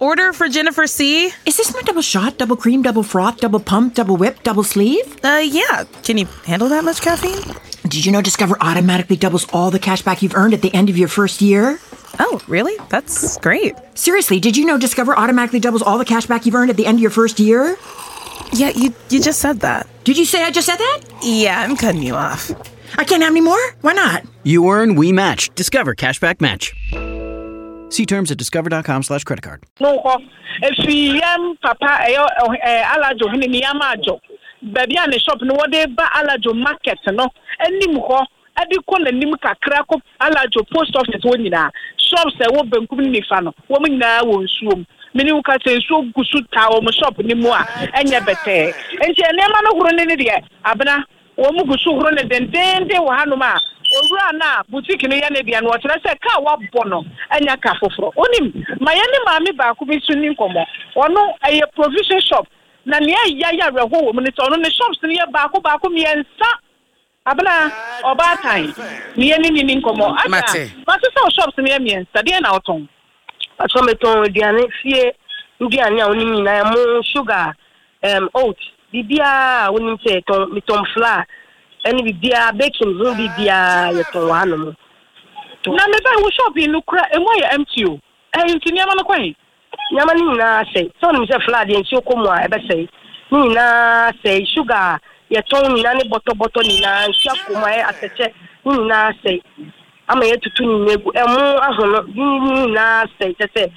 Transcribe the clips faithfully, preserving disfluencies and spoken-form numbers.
Order for Jennifer C. Is this my double shot, double cream, double froth, double pump, double whip, double sleeve? Uh, yeah. Can you handle that much caffeine? Did you know Discover automatically doubles all the cash back you've earned at the end of your first year? Oh, really? That's great. Seriously, did you know Discover automatically doubles all the cash back you've earned at the end of your first year? Yeah, you you just said that. Did you say I just said that? Yeah, I'm cutting you off. I can't have any more? Why not? You earn, we match. Discover Cashback Match. See terms at discover dot com slash credit card. No hɔ efi yɛn papa ɛyɛ ɛɛ Alajo hene ne yam adwo baabi a ne shop no wɔde ba Alajo market no anim hɔ, ɛde kɔ n'anim kakra kɔ Alajo post office hɔ nyinaa, shops ɛwɔ benkum ne nifa no, wɔn nyinaa wɔ nsuo mu. Mene wo ka sɛ nsuo gu so taa wɔn shop ne mu a ɛnyɛ bɛtɛɛ, nti nneɛma no horo ne ne deɛ abena wɔn mu gu so horo ne dendenden wɔ hanom a owura no a boutique no yɛ ne deɛ no, ɔkyerɛ sɛ kaa wabɔ no anya ka foforɔ. Onim ma yɛne maame baako bi so ni nkɔmmɔ. Ɔno ɛyɛ provision shop, na nea ɛya yɛ awerɛho wɔ mu ne sɛ ɔno ne shops no yɛ baako baako mmiɛnsa. Abena ɔbaatan ne yɛne ne ni nkɔmmɔ ata. Mate. Mate sɛ wo shops no yɛ mmiɛnsa deɛ na wotɔn? Atɔ metɔn aduane, fie nduane a wonim nyinaa, mo sugar, um, oat, biribiaa a wonim sɛ yɛtɔn. Metɔn flour ɛne biribiaa, baking ho biribiaa yɛtɔn wɔ hanom. Na meba wo shop yi no kora emu ayɛ empty o. Ɛyɛ nti nneɛma no kwan? Nneɛma no nyinaa sɛe. Sɛ wonim sɛ flour deɛ, nsuo kɔ mu a ɛbɛsɛe. Ne nyinaa sɛe. Sugar a yɛtɔn nyinaa ne bɔtɔbɔtɔ nyinaa, nsuo akɔ mu ayɛ atɛkyɛ, ne nyinaa sɛe ama yɛtutu ne nyinaa gu. Ɛmo ahono ne nyinaa sɛe. Kyɛ sɛ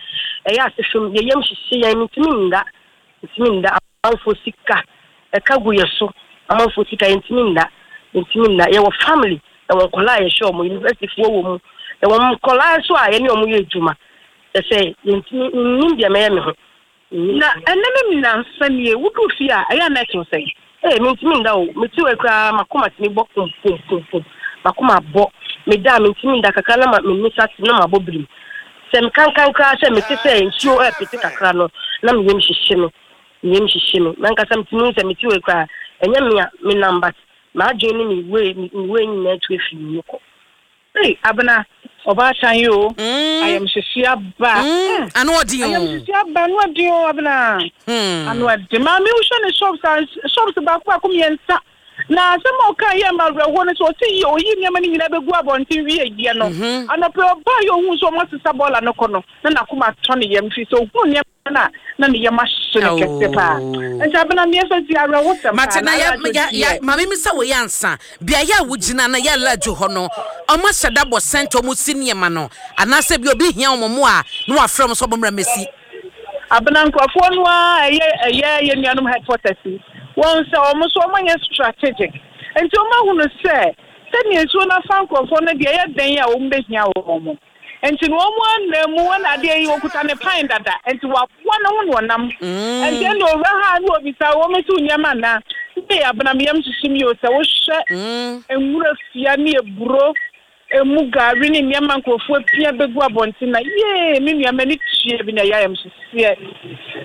ɛyɛ ase fam, yɛyam hyehye yɛn. Mentumi nda, ntumi nda. Amanfoɔ sika ɛka gu yɛ so, amanfoɔ sika, yɛntumi nda, yɛntumi nda. Yɛwɔ family, yɛwɔ nkɔlaa a yɛhwɛ ɔmo, universityfoɔ wɔ mu, yɛwɔ nkɔlaa nso a yɛne ɔmo yɛ adwuma. Kyɛ sɛ yɛntumi nnim deɛ mɛyɛ me ho. Na ɛnɛ ne nnansa nie woduu fie a, ɛyɛ a na ɛtew sɛn? Ee, mentumi nda o. Mete wɔ koraa, makoma tumi bɔ pom pom pom pom, makoma bɔ. Meda a, mentumi nda kakra na ma me nsa te na mabɔ birim. Sɛ mekankan koraa sɛ mete sɛ nsuo ɛpete kakra no, na meyam hyehye me, meyam hyehye me. Nankasa metumi hu sɛ mete wɔ koraa, ɛnyɛ me a menam, but m'adwene ne me wei me wei nyinaa tu afiri me mu kɔ. Ei, Abena ɔbaatan yi o, ayamhyehye aba. Mm, ano ɔden o. Ayamhyehye aba, ano ɔden o, Abena. Ano ɔden. Maame, wohwɛ ne shops a, shops baako baako mmiɛnsa, na asɛm a ɔka yɛ ma awerɛhoɔ no sɛ ɔsi yi oyi nneɛma no nyinaa bɛgu abɔnten wie yɛ no, anɔpɛ ɔbaa yɛ ohun sɛ ɔmo asesa bɔɔla no kɔ no, na n'akoma atɔ ne yam fi sɛ ohun nneɛma no a na ne yam ahye no kɛse paa. Nti Abena, mmiɛnsa ti awerɛho sɛm. Mate na yɛ yɛ yɛ maame mi sɛ wɔyɛ ansa beaeɛ a wogyina na yɛ Alajo hɔ no, ɔmo ahyɛ da bɔ sɛnta ɔmo si nneɛma no, anaasɛ bi obi hia ɔmo mo a na wafrɛ ɔmo sɛ ɔmo mmra mɛsi? Abena, nkurɔfoɔ no a ɛyɛ ɛyɛ yɛ nuanom headquarters yi, wɔn sɛ wɔn nso wɔn anyɛ strategic, nti wɔn ahunu sɛ sɛnea nsuo no afa nkurɔfoɔ no deɛ, ɛyɛ dan a wɔn bɛhia wɔn mo, nti no wɔn anam mu wɔn adeɛ yi wɔkuta ne pan dada, nti waboa ne ho na ɔnam. Nti ɛna owura ha ne obisa wɔn si nneɛma na ne Abena yam hyehyɛ mi o sɛ wohwɛ nwura fia ne eburo emu gari ne nneɛma nkurɔfoɔ pia bɛgu abɔnten na yee, me nua, m'ani tua bi na ɛyɛ ayam hyehyeɛ.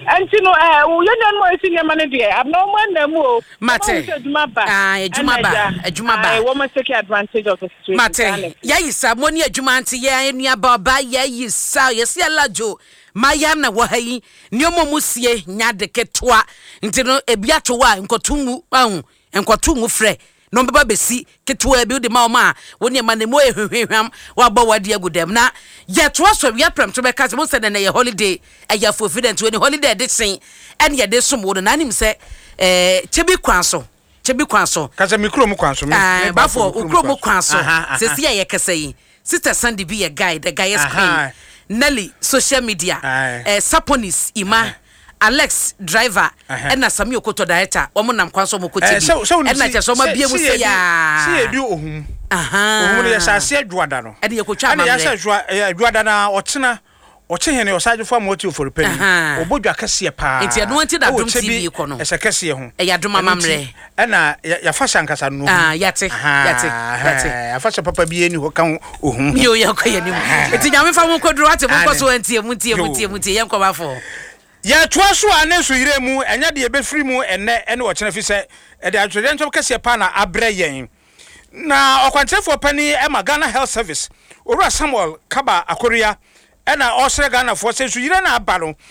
Nti no ɛɛ yɛn nuanom a yɛsi nneɛma no deɛ, Abena, wɔn anam mu o. Mate. Wɔn sɛ adwuma ba. Ah, adwuma ba, ɛna agya, adwuma ba. Aye, wɔn take advantage of the situation. Mate, yɛayi sa mo ne adwuma nti yɛn nuaba ɔba yɛayi sa yɛsi Alajo maya na wɔ ha yi, nneɛma mu sie nya de ketewa, nti no ebi ato hɔ a nkɔto ngu ahu nkɔto ngu, frɛ na ɔmbɛba bɛsi ketewa bi wode ma wɔn a wo nneɛma no mu yɛ hwehwehwam, wabɔ wade agu dɛm na yɛtoa so awia prɛmto bɛka sɛ mo sɛ nɛnɛ yɛ holiday, ɛyɛ afofi dɛ nti wɔne holiday de sen ɛne yɛde som wo no na anim sɛ ɛɛ kyɛbi kwan so, kyɛbi kwan so. Kasa mi kurom kwan so. Ah, bafo wo kurom kwan so. Aha, aha. Sɛsi a yɛkasa yi, Sister Sandy bi yɛ guy, the guy's Aha. queen Nelly social media, Aye. eh, Saponis Ima, Alex driver, Aha. ɛna Sami Okoto director, wɔn nam kwan so wɔn kɔ Eh, kyɛ sɛ bi sɛ wonim ɛna si- kyɛ sɛ wɔn sɛ- abie mu si sɛ yɛdi- yaa si yɛdi ohum. Aha. Ohum no yɛhyɛ aseɛ dwoada no. Ɛne yɛkɔtwa ɛna yɛahyɛ amammerɛ. dwoa ɛyɛ dwoada na ɔkyena ɔkye hene ɔsagyefo ama ɔte ofori Aha. pani ɔbɔ dwa kɛseɛ paa. Nti ɛno nti na ɛwɔ Adom kyɛ bi T V kɔ no. Ɛsɛ kɛseɛ ho. Ɛyɛ Adom Ɛno amammerɛ. nti, ɛna yɛ- yɛafa hyɛ ankasa no. Ah, yɛate, yɛate, yɛate. Yɛafa hyɛ papa bi ani hɔ ka ho ohum ho. Yo, yɛkɔ yɛn anim, nti Nyame fa mo nkɔduru wate, monkɔ so ntie mu, ntie mu, Yo. ntie mu, ntie yɛnkɔ bafo. Yɛtoa so a ne nso yerɛ mu ɛnyɛ deɛ ɛbɛfiri mu ɛnɛ ɛne ɔkyena fi sɛ ɛde atwerɛdeɛ kɛseɛ paa na abrɛ yɛn. Na ɔkwankyerɛfoɔ pani ɛma Ghana Health Service, Owura Samuel Kaba Akoria, ɛna ɔsrɛ Ghanafoɔ sɛ nsuyire no aba no.